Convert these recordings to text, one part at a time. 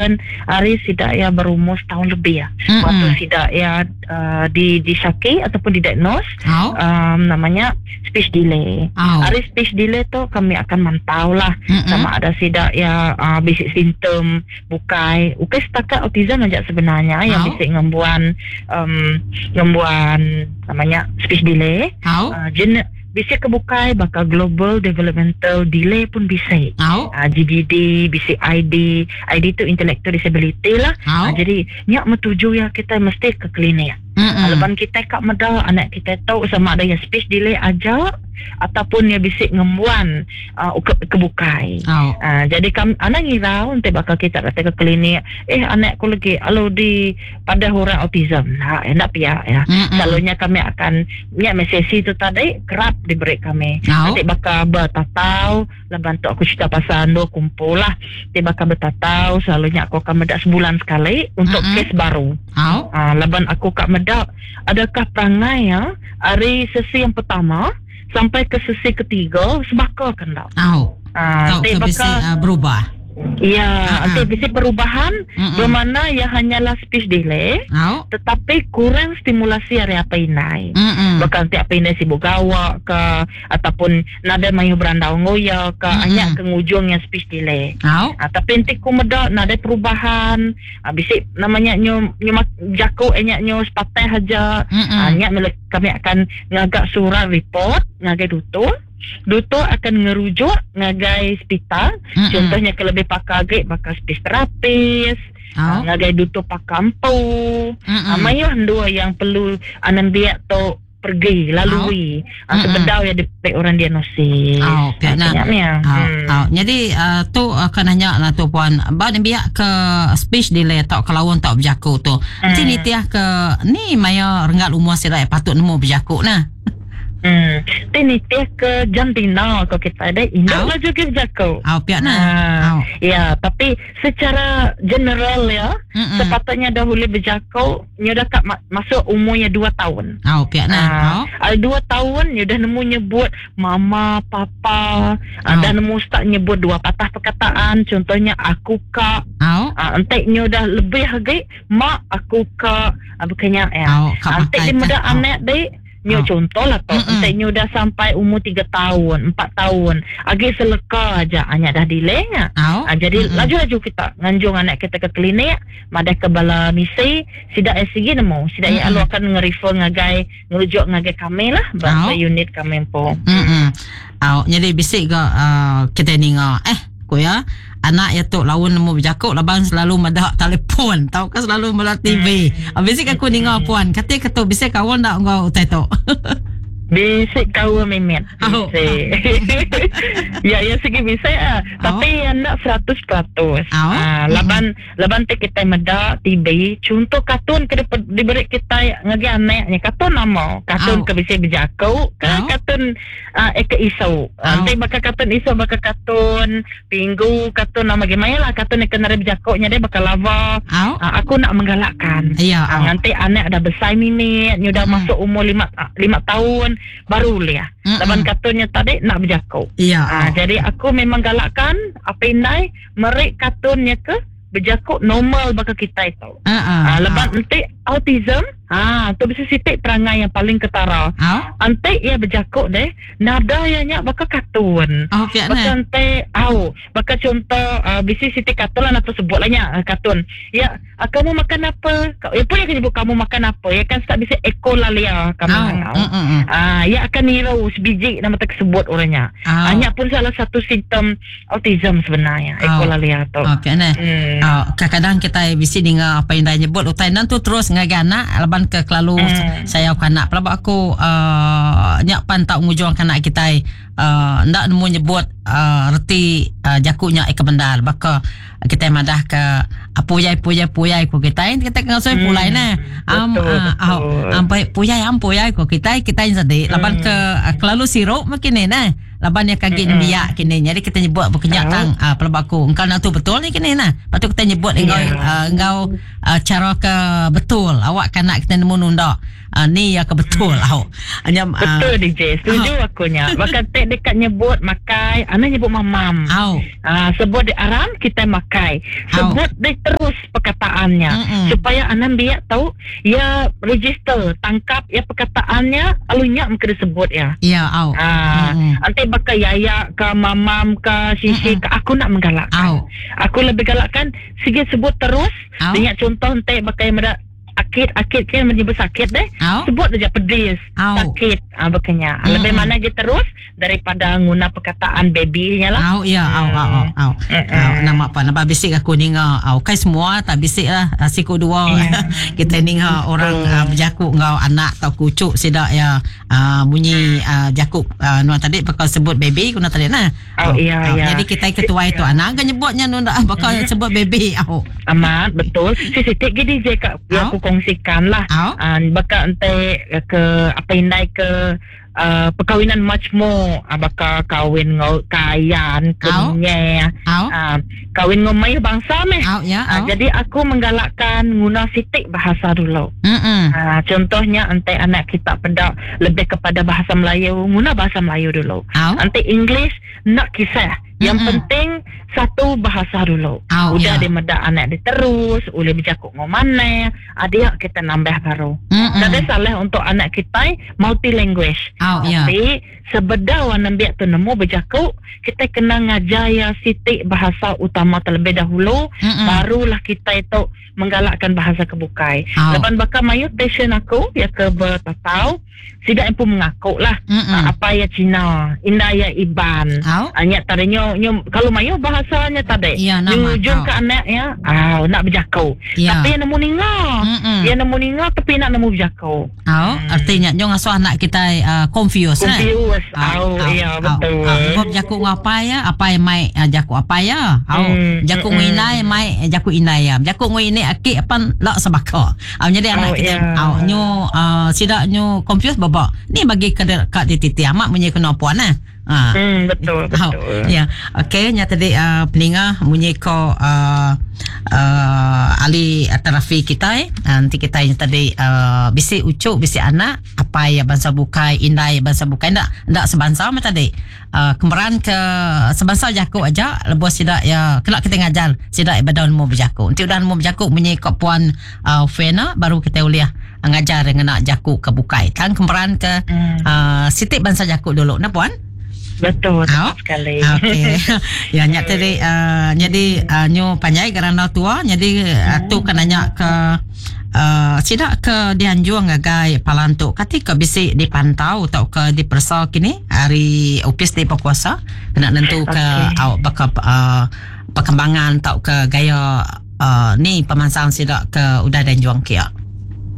happen ari sida iya berumur setahun lebih. Mm-mm. Waktu sida iya uh, di disyaki ataupun didiagnose oh. um, namanya speech delay. Oh. Ari speech delay tu kami akan mantau lah Mm-mm. sama ada sida iya uh, bisi simptom bukai. Ukai setakat autism aja sebenarnya yang Oh. bisi ngembuan um, ngembuan namanya speech delay. Oh. Uh, jenis bisi ke bukai baka global developmental delay pun bisi. Oh. Uh, GDD, bisi ID, ID tu intellectual disability lah. Oh. Uh, jadi nyak metuju ya kita mesti ke klinik. Mm-mm. Leban kita kak meda anak kita tu sama ada yang speech delay aja ataupun yang bisi ngembuan uh, ke, kebukai. Oh. Uh, jadi kami anak ngirau nanti bakal kita datang ke klinik eh anak aku lagi lalu di pada orang autism nah enak pihak ya. Mm-mm. Selalunya kami akan nyak sesi tu tadi kerap diberi kami. Oh. Nanti bakal bertatau leban tu aku cerita pasal ando kumpul lah. Nanti bakal bertatau selalunya aku akan medak sebulan sekali untuk Mm-mm. kes baru. Oh. Ah, laban aku kak medak adakah perangai ya hari sesi yang pertama sampai ke sesi ketiga sebaka kan tak? Oh. Ah, Tau nanti ke bisi bakal uh, berubah. ya, Ah, nanti ah. bisi perubahan Mm-mm. bermakna ya hanyalah speech delay Oh. tetapi kurang stimulasi hari apa inai. Mm-mm. Bakal nanti apa inai sibuk gawak ke ataupun nada mayu berandau ngoya ke Mm-mm. hanya ke ngujungnya speech delay. Oh. Ah, tapi nanti ku meda nada perubahan. Ah, bisik namanya nyu nyu jako enyak nyu sepatah aja. Mm-mm. Ah, nyak mele- kami akan ngagak surat report ngagai duto. Duto akan ngerujuk ngagai hospital. Mm-mm. Contohnya ke lebih pakar agak bakal speech terapis, Oh. ah, ngagai duto pakar empu. Mm-mm. Ah, mayuh dua yang perlu anan biak tu pergi lalui. Ah, Mm-mm. sebedau ya dipek orang diagnosis. Oh, pihak nak. Banyak ni. Oh, Hmm. oh. Jadi uh, tu uh, kena nanya lah tu puan. Ba ni biak ke speech delay tau kelawan tau berjaku tu. Nanti Hmm. ni tiah ke ni maya renggat umur sila patut nemu berjaku nah. Hmm. Ti nitih ke jantina ko kita ada induk Au. lah juga berjaku. Oh, pihak nah. Ah, Oh. ya, tapi secara general ya, Mm-mm. sepatutnya dahulu berjaku nya dah kat ma- masuk umurnya 2 tahun. Oh, pihak nah. Ah, Oh. ah, dua tahun nya dah nemu nyebut mama, papa, ah, Au. dah nemu start nyebut dua patah perkataan, contohnya aku kak, Oh. ah, entek nya dah lebih lagi mak aku kak, ah, bukannya ya. Oh, kak Antek pakai dia muda kan. Oh. anak dek Nyo Oh. contoh lah tu Mm-mm. Entek nyo dah sampai umur 3 tahun 4 tahun Agi seleka aja Anak dah delay nya Oh. Ha, jadi Mm-mm. laju-laju kita nganjung anak kita ke klinik, madah ke bala misi, sidak SCG nemu, sidak Mm-mm. mm alu akan ngerefer ngagai ngerujuk ngagai kami lah, bahasa Oh. unit kami po. Mm-mm. Oh, jadi bisik ke uh, kita ninga eh ku ya anak ya tu lawan nemu berjakuk laban selalu medak telefon tau kan selalu medak TV. Mm. Bisik aku ninga puan kata ketu bisik kawan dak ngau utai tu. Bisik kau memet. Oh. Bisik. ya, ya segi bisik ah. Oh. Tapi yang nak 100%. Oh. Ah, laban laban te kita medak TV, contoh kartun ke dip- diberi kita ngagi anaknya kartun nama, Oh. kartun ke bisik berjakuk, ke Oh. kartun ah, eh ke isu. Oh. Nanti bakal kartun isu bakal kartun pinggu, kartun nama gimana lah kartun yang kena berjakuknya dia bakal lava. Oh. Ah, aku nak menggalakkan. Ya. Ah, Oh. nanti anak dah besar mimit, ni dah Mm-mm. masuk umur 5 tahun baru liah. Mm-mm. Laban kartunnya tadi nak berjakuk. Ya. Ah, Oh. jadi aku memang galakkan apa indai merik kartunnya ke berjakuk normal bakal kita itu. Ah, ah. Ah, lepas nanti autism, ah tu bisa sitik perangai yang paling ketara. Oh. Antik ia berjakuk deh, nada ia nyak bakal kartun. Oh, pihak Bakal nah. nanti au, bakal contoh uh, bisi siti kartun lah nak sebut lah nyak ah, kartun. Ya, ah, kamu makan apa? Ka- Ya pun yang sebut kamu makan apa? Ya kan start bisi ekolalia kami Oh. mangau. Mm-mm. Ah, ya akan niru sebiji nama tersebut orangnya. Oh. Hanya pun salah satu simptom autism sebenarnya Oh. ekolalia tu. Oh, pihak nah. Hmm. Oh, kadang-kadang kita bisi ninga apa yang dah nyebut utai nan tu terus ngagai anak laban ke kelalu Hmm. saya ke anak pelabak aku uh, nyak pan tak ngujung ke anak kita uh, ndak nemu nyebut uh, reti uh, jakuknya eka bendar baka kita madah ke puyai puyai puyai ku kita kita kena soi Hmm. pulai nah am Betul, ah, betul. ah, ampai puyai am puyai ku kita kita yang sedih laban Hmm. ke uh, kelalu sirup makin ni nah. Laban iya kagi nembiak kini. Jadi kita nyebut bekenya tang uh, pelaba aku. Engkau nak tu betul ni kini nah. Lepas tu kita nyebut enggau uh, enggau uh, cara ke betul. Awak kan nak kita nemu nunda. Uh, ni ya ke betul au. Nya uh, Betul DJ, setuju aku nya. Baka tek dekat nyebut makai, ana nyebut mamam. Au. Uh, sebut di aram kita makai. Sebut di terus perkataannya Mm-mm. supaya anak biak tahu ya register, tangkap ya perkataannya lalu nya mesti disebut ya. Ya au. Ah, Mm-mm. nanti bakal yaya ke mamam ke sisi ke aku nak menggalakkan. Au. Aku lebih galakkan sige sebut terus. Au. Dengan contoh nanti bakal yang akit akit kan menyebut sakit deh. Au. Sebut aja pedis, Au. sakit, ah bekenya. Mm-mm. Lebih mana je terus daripada nguna perkataan baby-nya lah. Au ya au au au. Au. Au nama apa nama bisik aku ninga. Au kai semua tak bisik lah Ah, siku dua. Ya. Kita ninga orang uh, berjakuk ngau anak atau kucuk sidak ya uh, bunyi uh, jakuk uh, nuan tadi bakal sebut baby kuna tadi nah. Oh, iya, Au. iya. Jadi kita ketua itu anak kan nyebutnya nun dah bakal sebut baby. Au. Amat betul. Si sitik gini je kak Au. aku kongsikan lah. Au. Ah, bakal ente ke apa indai ke uh, perkahwinan much more ah, bakal kahwin ngau kayan ke Au. nye Au. ah, kahwin ngau mayu bangsa meh. Au ya. Ah, Au. jadi aku menggalakkan guna sitik bahasa dulu. Mm. Ah, contohnya ente anak kita pedak lebih kepada bahasa Melayu, guna bahasa Melayu dulu. Au. Ente English nak kisah. Yang Mm-mm. penting satu bahasa dulu. Au Udah ya. dia medak anak dia terus, boleh bercakap ngau mana, adik kita nambah baru. Mm. Tak ada salah untuk anak kita multi language. Au ya. Tapi sebedau anak biak tu nemu bercakap, kita kena ngajar ya sitik bahasa utama terlebih dahulu, Mm. barulah kita itu menggalakkan bahasa kebukai. Au. Lepas bakal mayu passion aku ya ke bertatau, sidak pun mengaku lah. Mm. Apa ya Cina, indah ya Iban. Au. Hanya tadi nyo, nyo kalau mayu bahasanya tadi. Ya, nama. Ujung Au. ke anak ya, ah nak berjakau. Ya. Tapi yang nemu ninga. Mm. Yang nemu ninga tapi nak nemu berjakau. Au, artinya nyong asuh anak kita uh, confused eh. Confused. Au, ya betul. Au, Bab jaku ngapa ya, apa yang mai uh, jaku apa ya. Au, jaku nginai mai jaku inai ya. Jaku ngini aki apa lak sebaka. Au jadi anak Au, kita ya. au nyu uh, sidak nyu confused babak. Ni bagi ke kat di titi amat munyi kena puan eh. Ha. Betul, Oh, betul. ya. Okey, nya tadi uh, peninga munyi ko uh, uh, ahli terapi kita eh. Uh, nanti kita yang tadi uh, bisi ucuk, bisi anak, apa ya bangsa bukai, indai bangsa bukai ndak ndak sebangsa macam tadi. Uh, kemeran ke sebangsa jakuk aja lebuh sidak ya kelak kita ngajar sidak ibadah nemu berjakuk. Nanti udah nemu berjakuk munyi ko puan uh, Fena baru kita uliah ngajar dengan nak jakuk ke bukai. Tang kemeran ke uh, sitik bangsa jakuk dulu nah puan. Betul, Au. tepat sekali. Okey. ya nyak tadi uh, jadi uh, nyu panjai kerana tua jadi uh, tu kan nanya ke uh, sidak ke dianjung ngagai palantuk kati ke bisi dipantau atau ke dipersa kini hari upis di berkuasa kena nentu ke Okey. au baka uh, perkembangan atau ke gaya uh, ni pemansang sidak ke udah dan juang kia.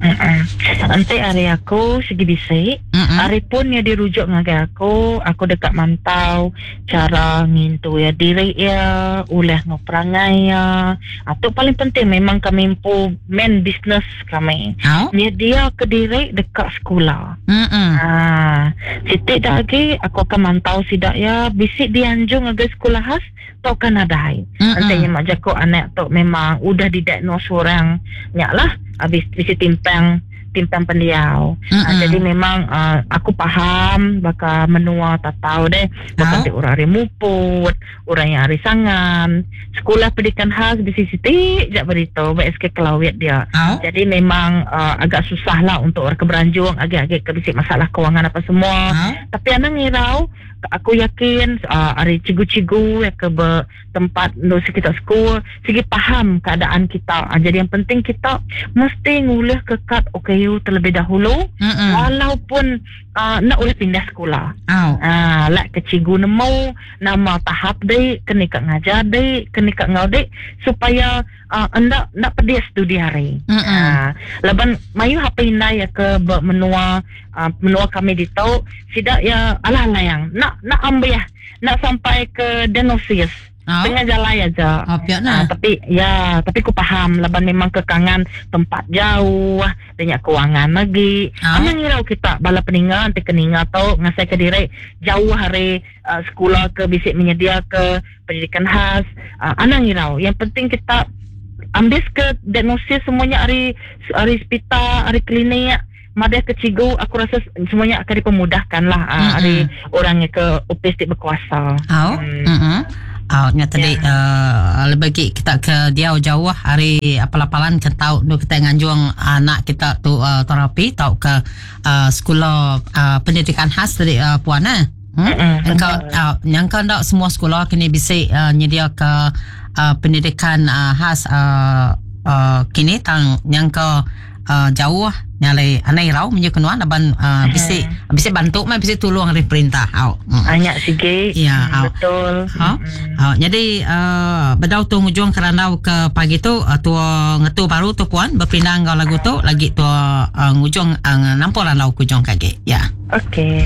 Mm-mm. Nanti hari aku segi bisik. Mm-mm. Hari pun yang dirujuk ngagai aku, aku dekat mantau cara ngintu ya diri ya, ulah ngoperangai ya. Atau paling penting memang kami empu main business kami. Au. Ni dia ke diri dekat sekolah. Mm-mm. Ah, sitik dah lagi aku akan mantau sidak ya bisik dianjung agai sekolah khas tau kan adai. Mm-mm. Nanti mak jakok anak tu memang udah didiagnose orang nyak lah habis bisi timpang timpang pendiau. Mm-mm. Ah, jadi memang ah, aku faham bakal menua tak tahu deh bakal Au. ti orang hari muput, orang yang hari sangan. Sekolah pendidikan khas di sisi jak berita BSK Kelawit dia. Au. Jadi memang uh, agak susah lah untuk orang keberanjung agak-agak kebisik masalah kewangan apa semua. Au. Tapi anak ngirau aku yakin uh, hari cigu-cigu ya ke ber, tempat nu sekitar school segi faham keadaan kita. Uh, jadi yang penting kita mesti ngulih ke kad OKU terlebih dahulu Mm-mm. walaupun uh, nak boleh pindah sekolah. Au. Ah, lak ke cikgu nemu nama tahap dek, kena kat ngajar dek, kena kat ngau dek supaya uh, endak nak pedis tu di hari. Mm-mm. Ah, laban mayu HP indai ya ke be- menua uh, menua kami di tau sidak ya alah layang nak nak ambil ya, nak sampai ke diagnosis. Oh. Tengah jalai aja. Oh, pia nah. Ah, tapi ya, tapi ku paham laban memang kekangan tempat jauh, nya kewangan lagi. Oh. Anang ngirau kita bala peninga enti ke ninga tu ngasai ke diri jauh ari uh, sekolah ke bisi menyedia ke pendidikan khas. Anang ngirau. Yang penting kita ambis ke diagnosis semuanya ari ari hospital, ari klinik, madah ke cikgu, aku rasa semuanya akan dipermudahkan lah Mm-mm. ari orang yang ke ofis ti berkuasa. Oh. Mm. Oh, nya tadi lebih lagi kita ke diau jauh ari apal-apalan ke tau nu kita nganjung anak kita tu terapi tau ke sekolah pendidikan khas tadi puan eh. Engkau nyangka ndak semua sekolah kini bisi nyedia ke pendidikan khas kini tang nyangka jauh nyalai anai rau menyu kenuan laban bisi bisi bantu mai bisi tolong dari perintah. Au. Banyak sikit. Ya, au. Betul. Ha? Jadi bedau tu ngujung kerandau ke pagi tu tua ngetu baru tu puan berpindah ngau lagu tu lagi tua ngujung nampol randau kujung kaki. Ya. Okey.